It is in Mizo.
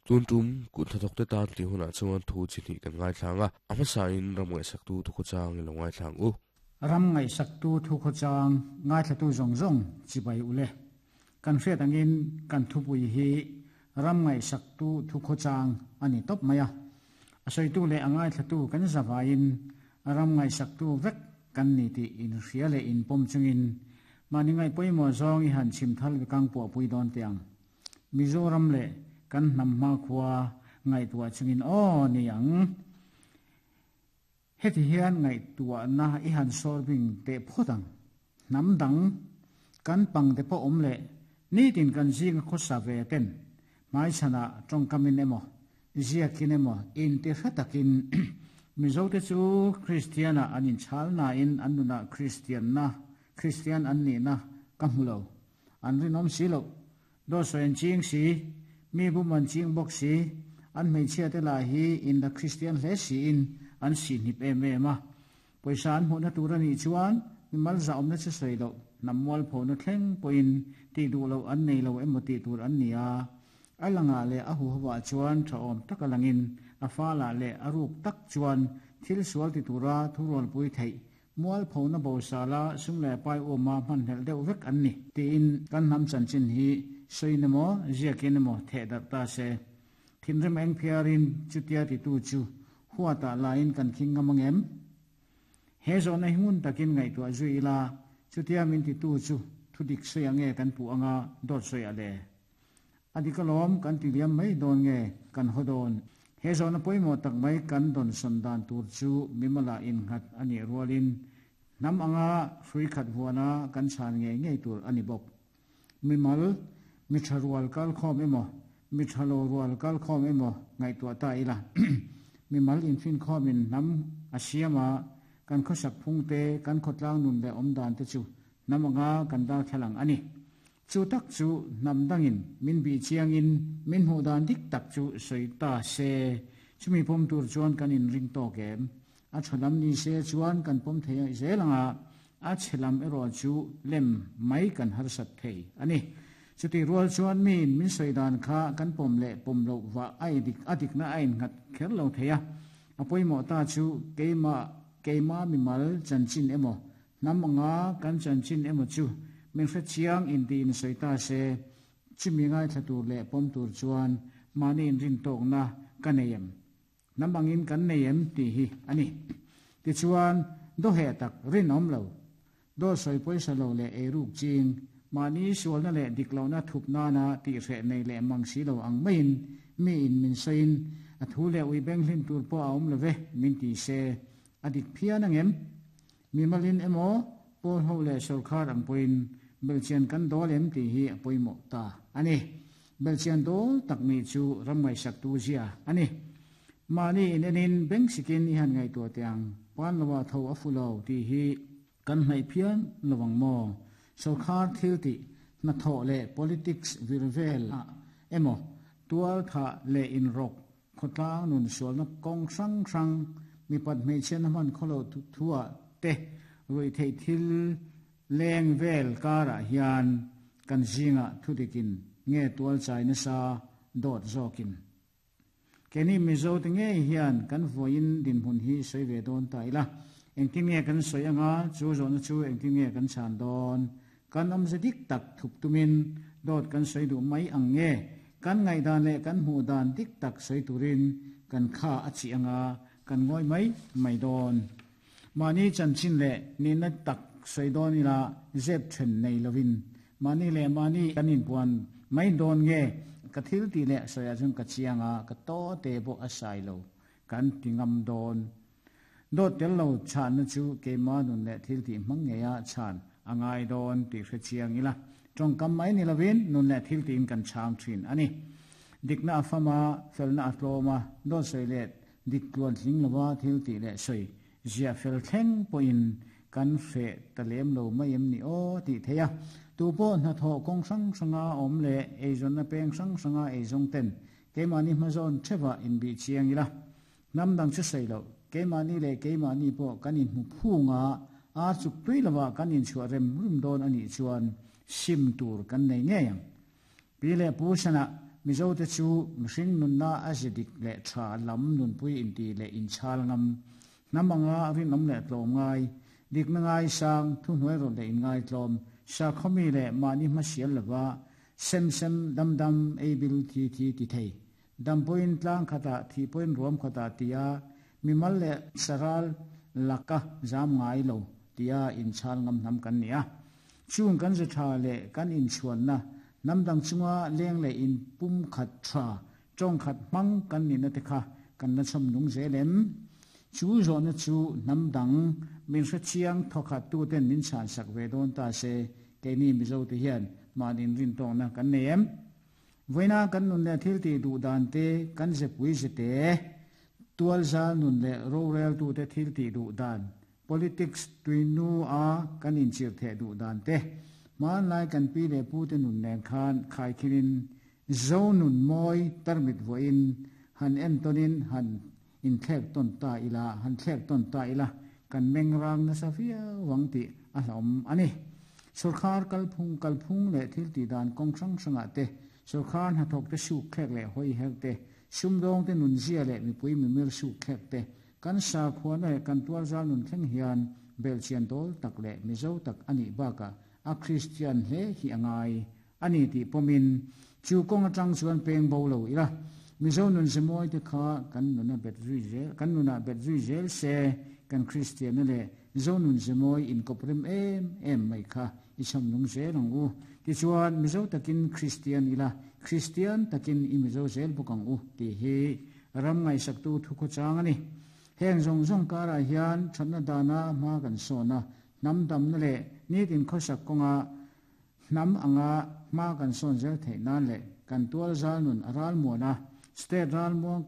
Tun tum kut hnathawkte tan tih hunah chuan thu chi hnih kan ngaithlang a, a hmasain ram ngaihsaktu thukhawchang i lo ngaithlang u. Ram ngaihsaktu thukhawchang ngaithlatu zawng zawng chibai u le. Kan hriat angin kan thupui hi ram ngaihsaktu thukhawchang a ni tawp mai a. A sawitu leh a ngaithlatu kan zavaiin ram ngaihsaktu vek kan ni tih inhria leh inpawm chungin mahni ngaih pawimawh zawng i han chhim thal vekang puahpui dawn teh ang. Mizoram leh kan hnam hmakhua ngaihtuah chungin aw ni ang. Heti hian ngaihtuahna i han sawr bing teh phawt ang. Hnam dang kan pangte pawh awm leh nitin kan zinga khawsa ve ten hmaichhanah tawngkamin emaw ziakin emaw inti hre takin Mizote chu Kristianah an inchhal nain an nunah Kristianna Kristian an nihna ka hmu lo. An rinawm si loh. Dawt sawi an ching si, mi bum an ching bawk si, an hmeichhia te lah hi in la Kristian hle siin an sihhnip em em a. Pawisa an hmuhna tur a nih chuan mi mal zahawmna chu sawi loh, hnam mualphona thleng pawhin tih duh loh an nei lo emaw tih tur an ni a. A langah leh a huhovah chuan tha awm tak a langin a falah leh a ruk tak chuan thil sual ti tura thurualpui theih Mualphona bosala sum leh pai uma hmanhlelh deuh vek an ni tiin kan hnam chanchin hi sawiin emaw ziakin emaw theh darh ta se. Thinrim eng phiarin chutia titu chu huatah laiin kan khing ngam angem? He zawhna hi ngun takin ngaihtuah zui ila chutia min titu chu thudik sawi ange kan puh anga dawt sawi a le? A dik alawm, kan ti liam mai dawn nge kan haw dawn? He zawhna pawimawh tak mai kan dawnsawn dan tur chu mimala innghat a nih rualin hnam anga hrui khat vuana kan chhan ngei ngei tur a ni bawk. Mimal, mi tha rual kal khawm emaw, mi tha lo rual kal khawm emaw ngaihtuah ta ila. Mimal infinkhawmin hnam a siam a, kan khawsak phung te, kan khawtlang nun leh awmdan te chu hnam anga kan darthlalang a ni. Chu tak chu hnam dangin min bih chiangin min hmuh dan dik tak chu sawi ta se, chumi pawm tur chuan kan inring tawk em? A tha lam ni se chuan kan pawm thei zel ang a, a chhe lam erawh chu lem mai kan harsat thei a ni. Chutih rual chuan miin min sawi dan kha kan pawm leh pawm loh vah a dik a dikna a innghat kher lo thei a, a pawimawh ta chu keimah keimah mimal chanchin emaw Hnam anga kan chanchin emaw chu min hre chiang inti in sawi ta se, chumi ngaithla tur leh pawm tur chuan mahni inrintawkna ka nei em? Hnam angin kan nei em tih hi a ni. Tichuan, dawheh tak rinawm lo, dawt sawi pawisa lo leh eiruk ching, mahni sualna leh dik lohna thup nana tihhreh nei leh mang si lo ang maiin mi in min sawiin a thu leh ui beng hlim tur pawh a awm lo ve min ti se, a dik phian angem? Mimalin emaw, pawl ho leh sorkar ang pawhin belhchian kan dawl em tih hi a pawimawh ta a ni. Belhchian dawl tak nih chu ram ngaihsaktu zia a ni. Mahni in enin beng sikin i han ngaihtuah teh ang, pan loah tho a fu lo tih hi kan hnaih phian lo ang maw? Sorkar thil tih, hnathawh leh politics vir vel ah emaw, tual thah leh inrawk Khawtlang nun sualna kawng hrang hrang, mipat hmeichhiatna hman khawloh thuah te ruih theih thil leng vel karah hian kan zingah thudikin nge tualchai nasa dawt zawkin. Keini Mizo te ngei hian kan vawiin dinhmun hi sawi ve dawn ta ila, engtin nge kan sawi anga chu zawhna chu engtin nge kan chhan dawn? Kan awmze dik tak thup tumin dawt kan sawi duh mai ang nge? Kan ngaihdan leh kan hmuh dan dik tak sawi turin kan kha a chih anga kan ngawi mai mai dawn. Mahni chanchin leh nihna tak sawi dawn ila zep then nei lovin mahni leh mahni kan inpuan mai dawn nge? Ka thil tih leh sawiah chuan ka chiang a, ka taw te pawh a sai lo kan ti ngam dawn. Dawt tel lo chhanna chu keimah nun leh thil tih hmang ngeia chhan a ngai dawn tih hre chiang ila, tawngkam mai ni lovin nun leh thil tiin kan chhang thin a ni. Dikna a fam a, felna a tlawm a, dawt sawi leh dik tluan tling lova thil tih leh sawi ziah fel thleng pawhin kan hreh ta lem lo mai em ni aw tih theih a. Tu pawh hnathawh kawng hrang hranga awm leh eizawnna peng hrang hranga eizawng ten keimahni hmazawn theuhah inbih chiang ila, Hnam dang chu sawi loh, keimahni leh keimahni pawh kan inhmu phung a, ar chuk tui lovah kan inchhuah rem rum dawn a nih chuan sim tur kan nei ngei ang. Pi leh Pu Sanah, Mizote chu mihring nunna a ze dik leh tha lam nunpui inti leh inchhal ngam, hnam anga rinawm leh tlawm ngai, dikna ngaisang, thuhnuai rawlh leh inngaitlawm, sakhawmi leh mahni hmasial lova sem sem dam dam ei bil thi thi ti thei, dam pawhin tlang khatah thih pawhin ruam khatah tia mimal leh saral laka zam ngai lo tia inchhal ngam hnam kan ni a. Chung kan ze tha leh kan inchhuanna hnam dang chunga leng leh in pum khat tha, tawng khat hmang kan nihna te kha kan la chhawm nung zel em? Chu zawhna chu hnam dang min hrechiang thawkhat tuten min chhansak ve dawn ta se, keini Mizo te hian mahni inrintawkna kan nei em? Vawiina kan nun leh thil tih duh dan te, kan zepui zete, tualzal nun leh roreltute thil tih duh dan, Politics tuinu a kan inchirh theh duh dan te, hmanlai kan pi leh pu te nun nen khan khaikhirin Zo nun mawi tarmit vuahin han entawnin han inthlek tawn ta ila, han thlek tawn ta ila kan meng rang nasa viau ang tih a hlauhawm a ni. Sawrkhar kalphung kalphung leh thil tih dan kawng hrang hrangah te, sawrkhar hnathawk te suk thlek leh hawi her te, sumdawng te nunzia leh mipui mimir suk thlek te, Kan sakhuana leh kan tualzal nun thleng hian belhchian dawl tak leh Mizo tak a nih bakah a Kristian hle hi a ngai a ni tih pawmin chu kawng atang chuan peng bo lo ila, Mizo nun zemawi te kha kan nuna bet zui zel kan nunah bet zui zel se kan Kristianna leh Zo nun zemawi inkawp rem em em mai kha i chhawm nung zel ang u. Tichuan Mizo takin Kristian ila, Kristian takin i Mizo zel bawk ang u tih hi Ram ngaihsaktu thukhawchang a ni. Heng zawng zawng karah hian thatna dana hma kan sawn a, hnam damna leh nitin khawsak kawnga hnam anga hma kan sawn zel theih nan leh kan tual zal nun a ralmuan a, state ralmuang.